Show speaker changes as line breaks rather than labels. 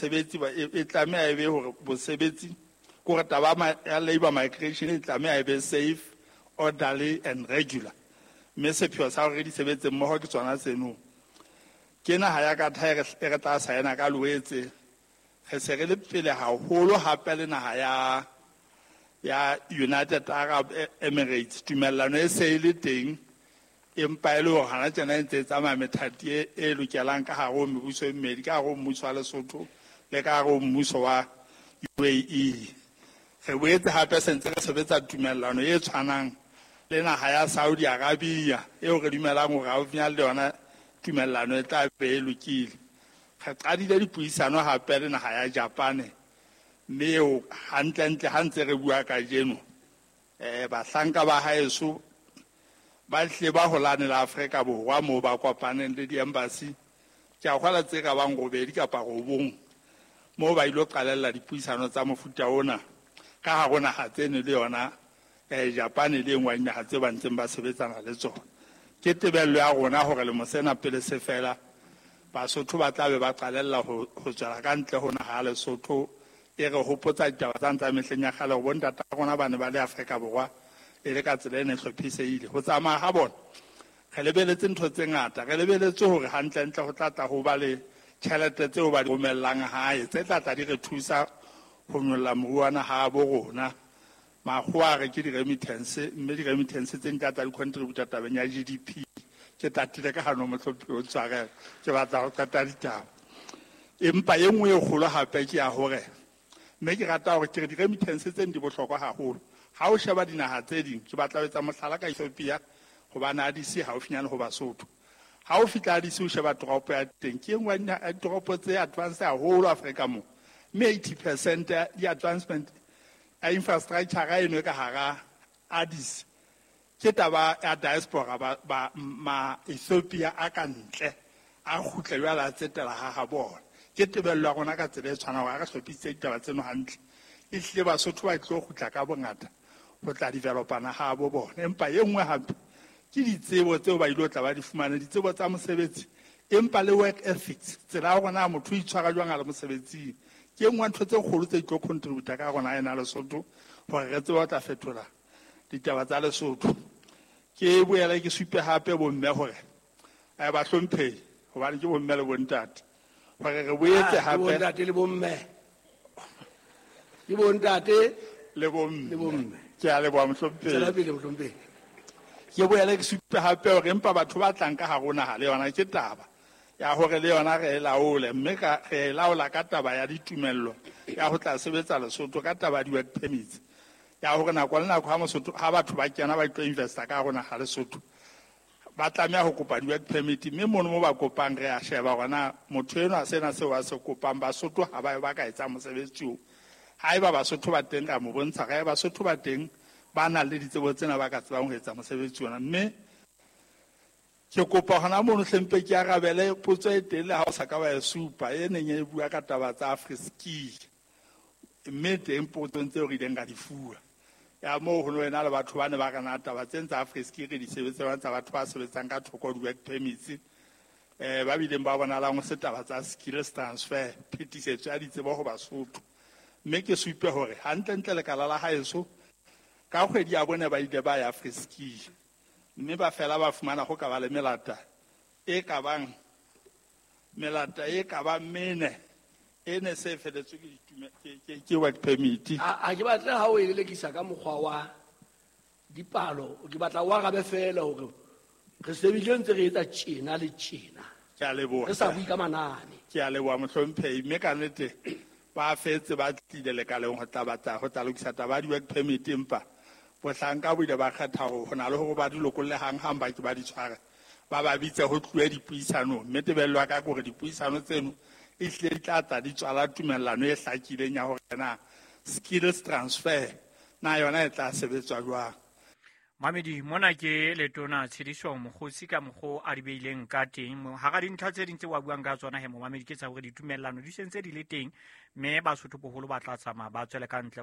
Basebetsi e tlameha e be hore bosebetsi ke hore taba ya labour migration e tlameha e be safe, orderly and regular. Mme sepheo sa hore re di sebetse mmoho ke tsona tseno. Ke naha ya Qatar e re tla saena ka Loetse. Re se re le pele haholo hape le naha ya United Arab Emirates. Tumellano e se e le teng, empa e le hore hana tjena e ntse e tsamaya methati e lokelang ka hare ho mebuso e mmedi, ka hare ho mmuso wa Lesotho le ka hare ho mmuso wa UAE. Re boetse hape se ntse re sebetsa tumellano e tshwanang le naha ya Saudi Arabia, eo re dumelang hore haufinyane le yona tumellano e tla be e lokile. Re qadile dipuisano hape le naha ya Japan, mme eo hantlentle ha ntse re bua kajeno, bahlanka ba haeso ba hlile ba holane le Afrika Borwa moo ba kopaneng le di-embassy. Ke a kgolwa tse ka bang 8 kapa 9 moo ba ilo qalella dipuisano tsa mofuta ona ka hare ho naha tseno le yona, Japan le e nngwe ya dinaha tse ba ntseng ba sebetsana le tsona. Ke tebello ya rona hore lemo sena pele se fela, Basotho ba tla be ba qalella ho tswela ka ntle ho naha ya Lesotho. E re hopotsa ditaba tsa tsa mehleng ya kgale hore bontata rona ba ne ba le Afrika Borwa e le ka tsela e ne hlophisehile. Ho tsamaya ha bona, re lebeletse ntho tse ngata. Re lebeletse hore hantlentle ho tla tla ho ba le tjhelete tseo ba di romellang hae, tse tla tla di re thusa ho nyolla moruo wa naha ya bo rona. Makgowa a re ke di-remittance, mme di-remittance tse di tla tla di contributa tabeng ya GDP. Ke tatile ka hano, mohlomphehi, o ntshwarele, ke batla ho qeta ditaba. Empa e nngwe e kgolo hape ke ya hore, mme ke rata hore ke re di-remittance tse di bohlokwa haholo. Ha o sheba dinaha tse ding, ke batla ho etsa mohlala ka Ethiopia, hobane Addis haufinyane ho Basotho. Ha o fihla Addis o sheba toropo ya teng, ke e nngwe ya ditoropo tse advance haholo Afrika moo. Mme 80% ya di-advancement ya infrastructure eno e ka hara Addis ke taba ya diaspora ba ma Ethiopia a ka ntle a kgutle jwale a tsetela ha ha bona. Ke tebello ya rona ka tsela e tshwanang hore ha re hlophisitse ditaba tseno hantle, ehlile Basotho ba tlo kgutla ka bongata ho tla developa naha ya bo bona. Empa e nngwe hape ke ditsebo tseo ba ilo tla ba di fumane, ditsebo tsa mosebetsi, empa le work ethics, tsela ya rona motho o itshwara jwang a le mosebetsing. Ke e nngwe ya ntho tse kgolo tse tlo contributa ka rona ena Lesotho hore re tsebe ho tla fetola ditaba tsa Lesotho. Ke boele ke supe hape bomme hore, bahlomphehi, hobane ke bomme le bontate, hore re boetse hape
Ke bontate le bomme. Ke bontate
le bomme.
Le bomme.
Ke a leboha, mohlomphehi.
Tswela pele, mohlomphehi.
Ke boele ke supe hape hore empa batho ba tlang ka hare ho naha le yona ke taba ya hore le yona re e laole, mme re e laola ka taba ya ditumello ya ho tla sebetsa Lesotho, ka taba ya di-work permits, ya hore nako le nako ha batho ba kena ba tlo investa ka hare ho naha Lesotho, ba tlameha ho kopa di-work permit, mme mono mo ba kopang re a sheba hore na motho enwa sena seo a se kopang Basotho ha ba ka etsang mosebetsi oo. Haeba Basotho ba teng, ra mo bontsha hore Basotho ba teng ba nang le ditsebo tsena ba ka tsebang ho etsa mosebetsi ona. Mme ke kopa hona mono hlempe ke arabele potso e teng le ha o sa ka wa e supa, e neng e bua ka taba tsa Afriski, mme teng potsong tseo re ileng ra di fuwa. Ya moo ho no ena le batho ba ne ba re na taba tse tsa Afriski re di sebetsang tsa batho ba sebetsang ka thoko di-work permits, ba bileng ba bonalang ho se taba tsa skills transfer, phetisetso ya ditsebo ho Basotho. Mme ke supe hore hantlentle lekala la haeso ka kgwedi ya bone ba ile ba ya Afriski, mme ba fela ba fumana ho ka ba le melata e ka bang melata e ka bang mene e ne se feletswe ke ke work permit.
A ke batle ha o e lelekisa ka mokgwa wa dipalo, ke batla o arabe fela hore re sebedile ntse re etsa tjena le tjena.
Ke a leboha.
Re sa bue ka manane.
Ke a leboha, mohlomphehi, mme ka nnete ba fetse ba tlile lekaleng ho tla batla ho tla lokisa taba ya di-work permit, empa bohlanka bo ile ba kgetha hore ho na le hore ba di lokolle hang-hang ba ke ba di tshware, ba ba bitse ho tluwe dipuisanong. Mme tebello ya ka ke hore dipuisano tseno e hlile di tla tla di tswala tumellano e hlakileng ya hore na skills transfer na yona e tla sebetswa jwang.
Mamedi, mona ke letona Tshediso Mokgotsi ka mokgo a di beileng ka teng. Hara dintlha tse ding tse wa buang ka tsona he momamedi, ke tsa hore ditumellano di sentse di le teng, mme Basotho boholo ba tla tsamaya ba tswele ka ntle ho